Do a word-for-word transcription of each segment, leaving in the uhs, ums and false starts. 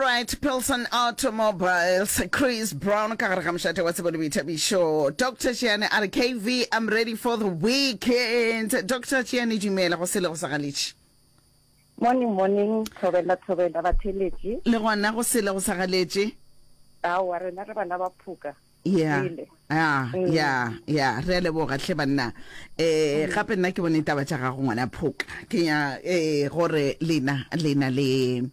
Alright, Pilson Automobiles, Chris Brown ka gare ga mošate wa tsebo le boithabišo. Doctor Tšiane a re K V, I'm ready for the weekend. Doctor Tšiane, dumela go sele go sa galetše. Morning, morning, thobela, thobela batheletši. Le gona go sele go sa galetše. Aowa, rena re bana ba phoka. Ya, Sele. ya, Mm. ya, ya, re a leboga hle banna. Eh, gape nna ke bone taba tša gago ngwana phoka. Ke ya eh gore lena lena le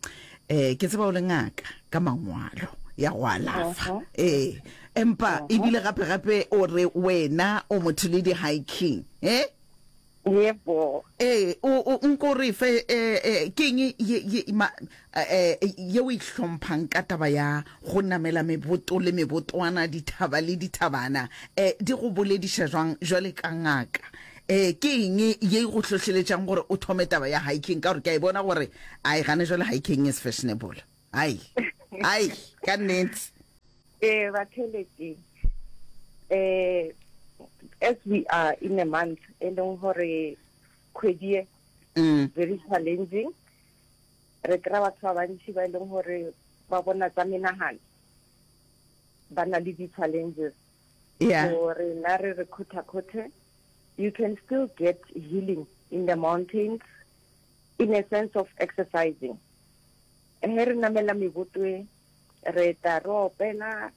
eh ke tseba o le ngaka ka mangwalo ya go alafa. Uh-huh. Eh, empa Uh-huh. ebile gape gape o re wena o motho le di hiking. Eh? Yebo. Ee, o, o, nko re fe, eh, eh, ke eng ye, ye, ma, eh, ye o e hlomphang ka taba ya go namela meboto le mebotwana, dithaba le dithabana? Eh, di go bolediša jwang jwale ka ngaka? Eh, ke eng ye e go hlohleletšang gore o thome taba ya hiking? Ka gore ke a e bona gore, ai, gane jwale hiking is fashionable. Ai, ai, ka nnete. Eh, batheletši. Eh, as we are in a month, e leng gore kgwedi e Mm. very challenging. Re kry-a batho ba bantši ba e leng gore ba bona tsa menagano, ba na le di-challenges. Yeah. So rena re re khotha-khothe, you can still get healing in the mountains in a sense of exercising. He re namela meboto e, re tla re opela,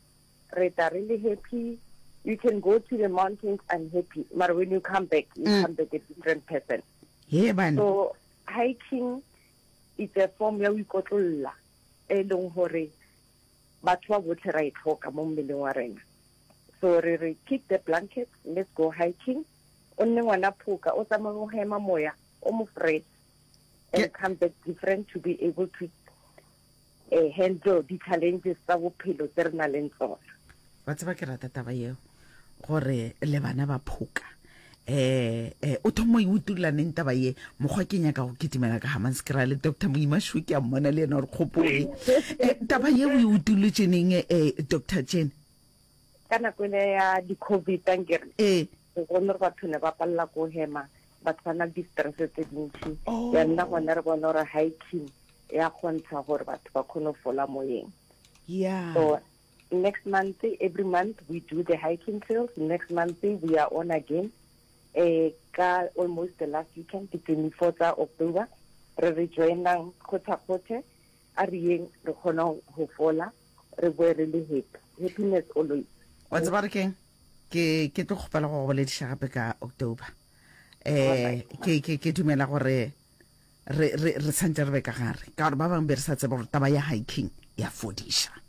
re tla re le happy. You can go to the mountains and happy, but when you come back, you Mm. come back a different person. Ye bana. So hiking, it's a form ya ho ikotlolla e leng hore batho ba botlhe ra e tlhoka mo mmeleng wa rena. So re re kick the blanket, let's go hiking. O nne ngwana phoka, o tsamaye o hema moya o mo fresh and Ke- come back different to be able to uh, handle di challenges tsa bophelo tse re nang le tsona. Wa tseba, ke rata taba yeo gore le bana ba phoka. eh eh o thoma e utulla neng taba ye? Mokgwa ke nyaka go kitimela ka Hammanskraal le Doctor Moimašo, ke a mmona le yena gore kgopoe. eh taba ye o e utullotše neng, eh Doctor Jane? Ka nako ele ya di-COVID, ankere? Eh. Re bone gore batho ne ba palela ko hema, batho ba na le di-stress tse dintši. Oh. Ya nna gone re bona gore hiking ya kgontsha gore batho ba kgone go fola moyeng. Yeah so next month, every month we do the hiking trails. Next month we are on again, eh ka almost the last weekend, di twenty-four tsa October. Re re joinang kgotha-kgothe, a re yeng re kgona go fola, re boe re le happy. Happiness always. Wa tseba re keng, ke ke tlo kgopela go go bolediša gape ka October. eh ke ke ke dumela gore re re re santse re be ka gare, ka gore ba bangwe be re sa tsebe gore taba ya hiking ya fodiša.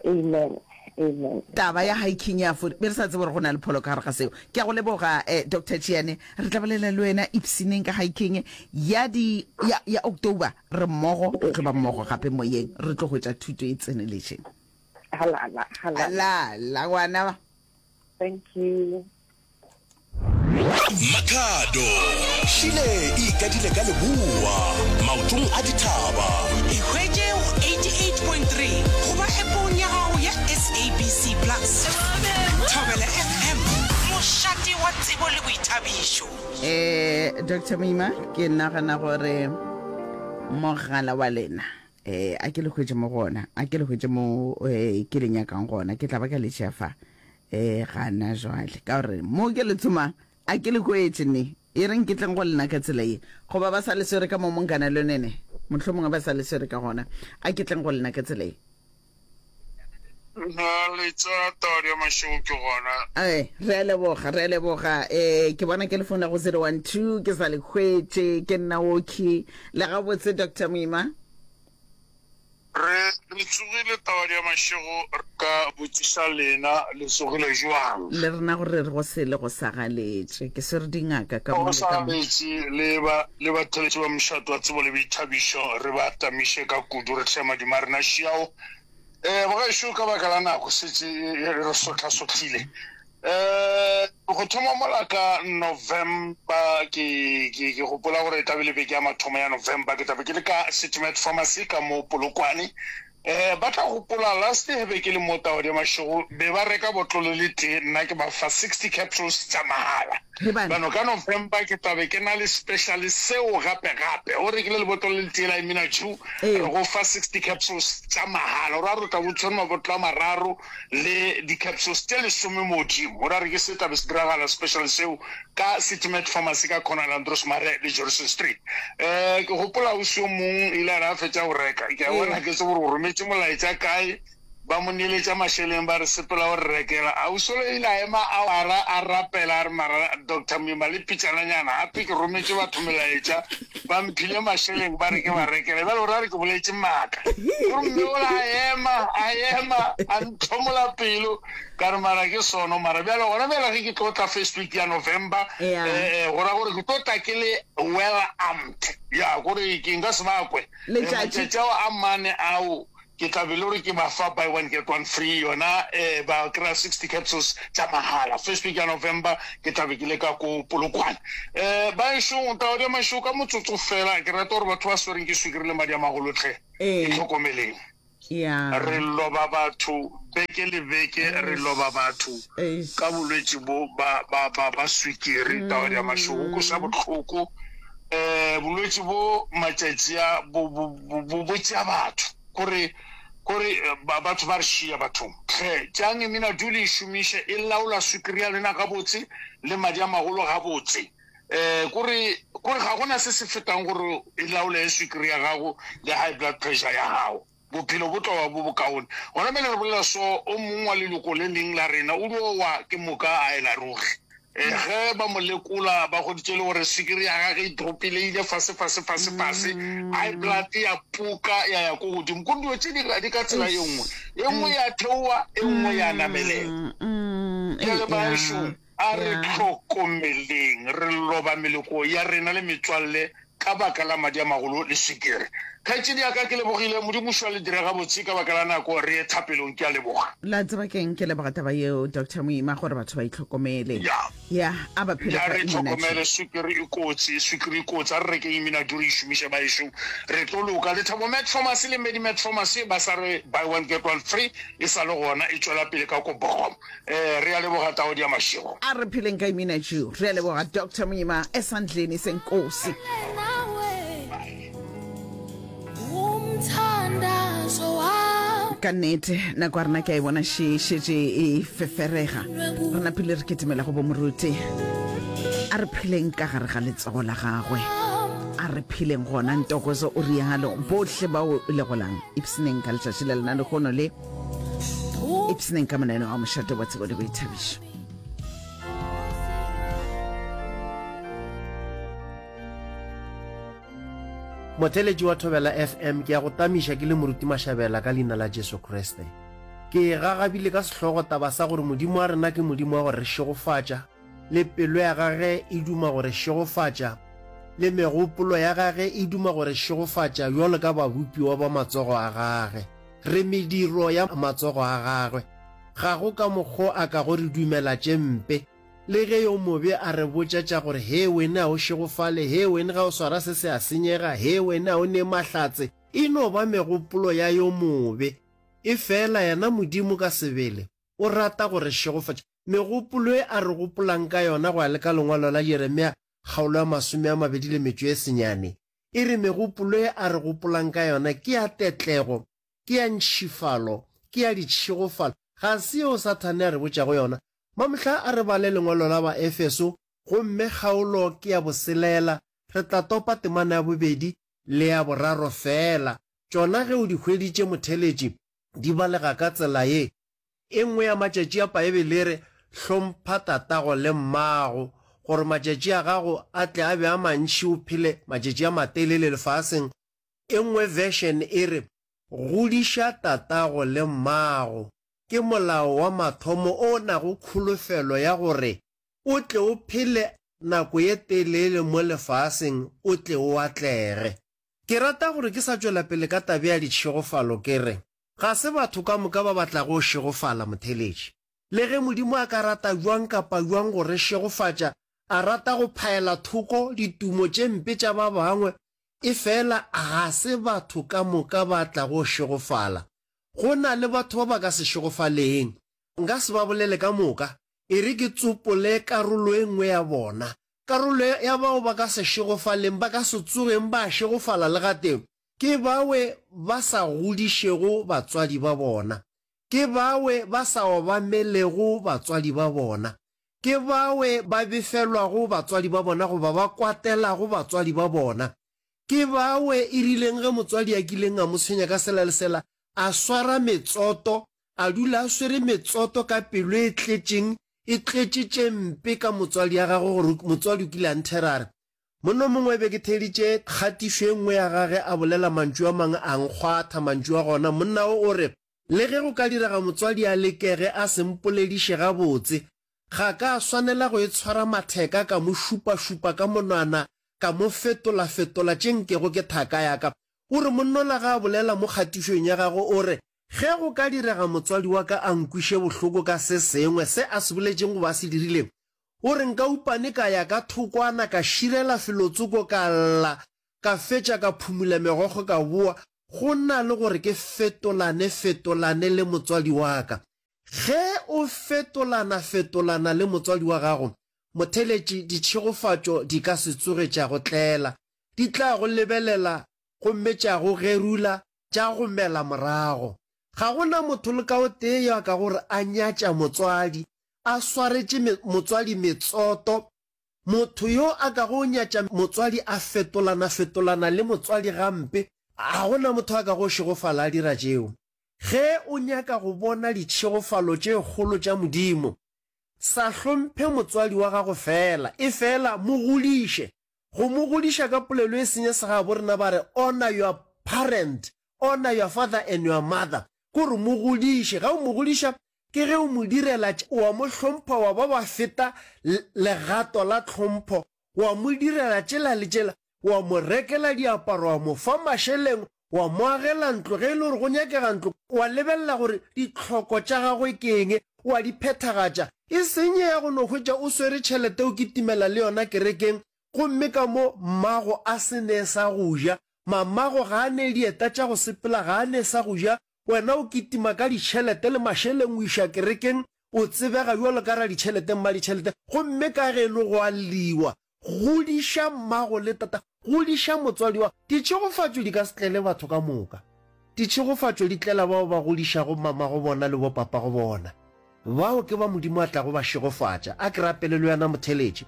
Amen, amen. Taba ya hiking ya fodi, be re sa tsebe gore go na le pholo ka gare ga seo. Ke a go leboga, eh, Doctor Tšiane. Re tla bolela le wena ipsineng ka hiking ya di ya, ya October. Re mmogo, re tlo ba mmogo gape moyeng, re tlo hwetša thuto e tseneletšeng. Halala, halala. La la ngwana. Thank you. Makhado šile e ikadile ka leboa maotong a dithaba. E hwetše go eighty-eight point three goba appong ya gago ya S A B C Plus. Thobela F M, mošate wa tsebo le boithabišo. eh Doctor Moima, ke nagana gore mogala wa lena, eh a ke le hwetše mo gona, a ke le hwetše mo eh ke le nyakang gona, ke tla ba ka le tšea fa eh gana jwale, ka gore mo ke le tsomang a ke le hwetše ne. E reng ke tleng go lena ka tsela ye, goba ba sa le swere ka mo Monkana Lonene, mohlomongwe ba sa le swere ka gona. A ke tleng go lena ka tsela ye. Na letsa taodi ya mašego ke gona. Ee, re a leboga, re a leboga. um ke bona ke le founa go zero one two, ke sa le hwetše. Ke nna oki le gabotse, Doctor Moima? Re re tsogile, taodi ya mašego. Re ka botšiša lena, le tsogile jwang? Le rena gore re go sele go sa galetše, ke swere dingaka ka mo Go le sa ka mo. Galetše le ba le batheletši ba mošato wa tsebo le boithabišo, re ba tamiše ka kudu, re hle madimo a rena šiao. um bogešo, ka baka la nako setse e re sotlha-sotlhile. um go thoma mola ka November, ke ke ke gopola gore e tlabe le beke ya mathomo ya November, ke tlabe ke le ka City Med Pharmacy ka mo Polokwane. Eh, ba tla gopola last year be ke le mo Taodi Mašego, be ba reka botlolo le tee, nna ke ba fa sixty capsules tša mahala. Bano ka November ke tla be ke na le special seo gape gape. O rekile lebotlolo le tee la Imina Dew, re go fa sixty capsules tša mahala. O ra re o tla bo tshwere mabotlolo a mararo le di-capsules tše lesome modimo. O ra re ke se tla be se diragala special seo ka City Med Pharmacy ka corner la Andros Mare le Jorissen Street. Eh, ke gopola ausi yo mong ile a re a fetša go reka, ke a bona ke tsebe gore o rometše molaetša kae, ba mo neeletša mašeleng ba re sepela o re rekela. Ausi yola ile a ema awara a rapela a re mara Doctor Moima le pitšananyana gape ke rometše batho melaetša ba mphile mašeleng ba re ke ba rekele bjale o ra re ke boletše maaka. Gore mme ola a ema a ema a ntlhomola pelo ka re mara ke sono mara bjale gona bjale ge ke tlo tla first week ya November Yeah. eh, eh, go ra gore ke tlo tla ke le well armed ya gore ke nka se ba kwe. Eh, Letšatši. matšatši ao a mane ao ke tla be le gore ke ba fa buy one get one free yona eh, ba kry-a sixty capsules tša mahala. First week ya November ke tla be ke le ka ko Polokwane. Eh, baešo Taodi ya Mašego ka motsotso fela ke rata gore batho ba swereng ke swikiri le madi a magolo tlhe Ee. itlhokomeleng. Yeah. Re loba batho beke le beke, re loba batho Eish. ka bolwetši bo ba, ba, ba, ba swikiri Taodi ya Mašego. Go kweša bohloko. Eh, bolwetši bo matšatši a bo, bo, bo, bo, bo tšea batho. Kore, kore, eh, ba, batho ba re šia bathong. Hle, tšeang Imina Dew le e šomiše, e laola swikiri ya lena gabotse le madi a magolo gabotse. Eh, kore, kore ga gona se se fetang gore e laole swikiri ya gago le high blood pressure ya gago. Bophelo bo tlo ba bo bokaone. Gona bjale re bolela so, o mongwe wa leloko le leng la rena o dio wa ke moka a ela ruri. Eh, ge ba mo lekola ba hweditše le gore swikiri ya gage e dropile, e ile fase, fase, fase, fase. High blood ya puka ya ya ko godimo. Ko dilo tše di, di ka tsela ye nngwe. E nngwe ya theoa, e nngwe ya namelela. Mm, Bjale eh, baešo, ya, a re ya. hlokomeleng, re loba meloko ya rena le metswalle ka baka la madi a magolo le swikiri. Kgaetšedi ya ka, ke lebogile. Modimo šo a le dire gabotse ka baka la nako, re ye thapelong. Ke a leboga. La tseba keng, ke leboga taba yeo Doctor Moima gore batho ba itlhokomele. Ya. Ya, a ba phele Ya, ka re Immunagy. tlhokomele, swikiri e kotsi, swikiri e kotsi. A re rekeng Immunagy re e šomiše baešo, re tlo loka. Lethabo Med Pharmacy le Medi Med Pharmacy ba sa re buy one get one free e sa le gona, e tšwela pele ka ko Bochum. Eh, re a leboga Taodi ya Mašego. A re pheleng ka Immunagy. Re a leboga Doctor Moima esandleni senkosi. Ka nnete nako ya rena ke a e bona še šetše e feferega. Re napile re ketemela go bomoruti. A re pheleng ka gare ga letsogo la gagwe. A re pheleng gona Ntokozo o rialo. Bohle bao le golang ipshineng ka letšatši la lena lehono le ipshineng ka moneno wa mošate wa tsebo le boithabišo. Motheletši wa Thobela F M, ke a go tamiša ke le moruti Mashabela ka leina la Jesu Kriste. Ke e gagabile ka sehlogo taba sa gore Modimo wa rena ke Modimo wa go re šegofatša, le pelo ya gage e duma go re šegofatša, le megopolo ya gage e duma go re šegofatša bjalo ka babopiwa ba matsogo a gage. Re mediro ya matsogo a gagwe. Ga go ka mokgo a ka go re dumela tše mpe. Le ge yo mobe a re botša tša gore he wene a o šegofale, he wene ga o swara se se a senyega, he wene a o ne mahlatse, e no ba megopolo ya yo mobe. E fela yena Modimo ka sebele o rata go re šegofatša. Megopolo e a re gopolang ka yona go ya le ka lengwalo la Jeremia kgaolo ya masome a mabedi le metšo e senyane, e re megopolo e a re gopolang ka yona ke ya tetlego, ke ya ntšhifalo, ke ya ditšhegofalo. Ga se yeo Sathane a re botšago yona. Mamohla a re bale lengwalo la Baefeso, gomme kgaolo ke ya boselela, re tla topa temana ya bobedi le ya boraro fela. Tšona ge o di hweditše motheletši, di balega ka tsela ye. E nngwe ya matšatši a Paebele e re, hlompha tatago le mmago, gore matšatši a gago a tle a be a mantši o phele matšatši a matelele lefaseng. E nngwe version e re, godiša tatago le mmago. Ke molao wa mathomo o nago kholofelo ya gore o tle o phele nako ye telele mo lefaseng o tle o atlege. Ke rata gore ke sa tšwela pele ka tabe ya ditšhegofalo ke re, ga se batho ka moka ba batlago šegofala motheletši. Le ge Modimo a ka rata jwang kapa jwang go re šegofatša, a rata go phaela thoko ditumo tše mpe tša ba bangwe, e fela ga se batho ka moka ba tlago šegofala. Go na le batho ba ba ka se šegofaleng. Nka se ba bolele ka moka, e re ke tsopole karolo e nngwe ya bona. Karolo ya bao ba ka se šegofaleng, ba ka se tsogeng ba šegofala le gatee, ke bawe ba sa godišego batswadi ba bona. Ke bawe ba sa obamelego batswadi ba bona. Ke bawe ba befelwago batswadi ba bona goba ba kwatelago batswadi ba bona. Ke bawe e rileng ge motswadi a kileng a mo tshwenya ka sela le sela, a swara metsoto, a dula a swere metsoto ka pelo e tletšeng, e tletše tše mpe ka motswadi ya gagwe gore motswadi o kile a nthera a re, Monna mongwe e be ke theeditše kgatišo e nngwe ya gage a bolela mantšu a mangwe a nkgwatha mantšu a gona. Monna o o re, Le ge go ka direga motswadi a lekege a se mpolediše gabotse, ga ka swanela go itshwara matheka ka mo šupašupa ka monwana ka mo fetolafetola tše nkego ke thaka ya ka. O re monnola ga a bolela mo kgatišong ya gagwe o re, Ge go ka direga motswadi wa ka a nkwiše bohloko ka se sengwe se a se boletšeng goba a se dirileng, o re nka upane ka ya ka thokwana ka širela felotsoko ka lla ka fetša ka phumula megokgo ka boa, go na le gore ke fetolane fetolane le motswadi wa ka. Ge o fetolana fetolana le motswadi wa gago, motheletši, ditšhegofatšo di ka se tsoge tša go tlela. Di tla go lebelela gomme tša go gerula, tša go mela morago. Ga go na motho le ka o tee yo a kago re a nyatša motswadi, a swaretše motswadi metsoto. Motho yo a kago nyatša motswadi a fetolana-fetolana le motswadi gampe, ga go na motho a kago šegofala a dira tšeo. Ge o nyaka go bona ditšhegofalo tše kgolo tša Modimo, sa hlomphe motswadi wa gago feela, efela mo godiše. Go mo godiša ka polelo e senya segabo rena ba re honor your parent, honor your father and your mother, ke gore mo godiše. Ga o mo godiša ke ge o mo direla tše, wa mo hlompha wa ba wa feta legato la tlhompho, wa mo direla tšela le tšela, wa mo rekela diaparo, wa mo fa mašeleng, wa mo agela ntlo ge e le gore go nyakega ntlo, wa lebelela gore ditlhoko tša gagwe ke eng, wa di phethagatša. E seng ye ya go no hwetša o swere tšhelete o kitimela le yona kerekeng gomme ka mo mmago a se ne sa go ja, mamago ga a ne dieta tša go sepela, ga a ne sa go ja, wena o kitima ka ditšhelete le mašeleng o iša kerekeng, o tsebega bjalo ka raditšhelete, mmaditšhelete, gomme ka geno go a lliwa. Godiša mmago le tata, godiša motswadi wa. Ditšhegofatšo di ka se tlele batho ka moka. Ditšhegofatšo di tlela bao ba godišago mamago bona le bopapago bona. Bao ke ba Modimo a tlago ba šegofatša. A ke rapele le wena motheletši.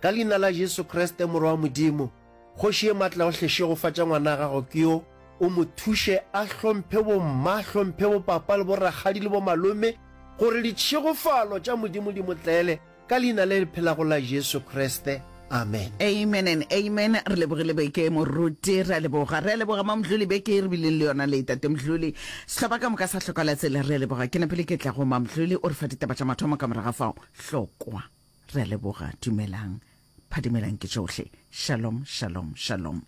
Ka Leina la Jesu Kriste, Morwa wa Modimo, Kgoši ye maatlaohle, šegofatša ngwana gago ke yo, o mo thuše a hlomphe bomma, a hlomphe bopapa le borakgadi le bomalome, gore ditšhegofalo tša Modimo di mo tlele, ka Leina le le phelago la Jesu Kriste. Amen. Amen and amen. Re lebogile beke moruti, re a leboga. Re a leboga Mamdluli beke e re bileng le yona le Tate Mdluli. Sehlopha ka moka sa hloka la tsela re a leboga. Ke napile ke tla go Mamdluli o re fa ditaba tša mathomo ka morago ga fao. Hlokwa. Re a leboga. Dumelang. Phadimelang ke tšohle. Shalom, shalom, shalom.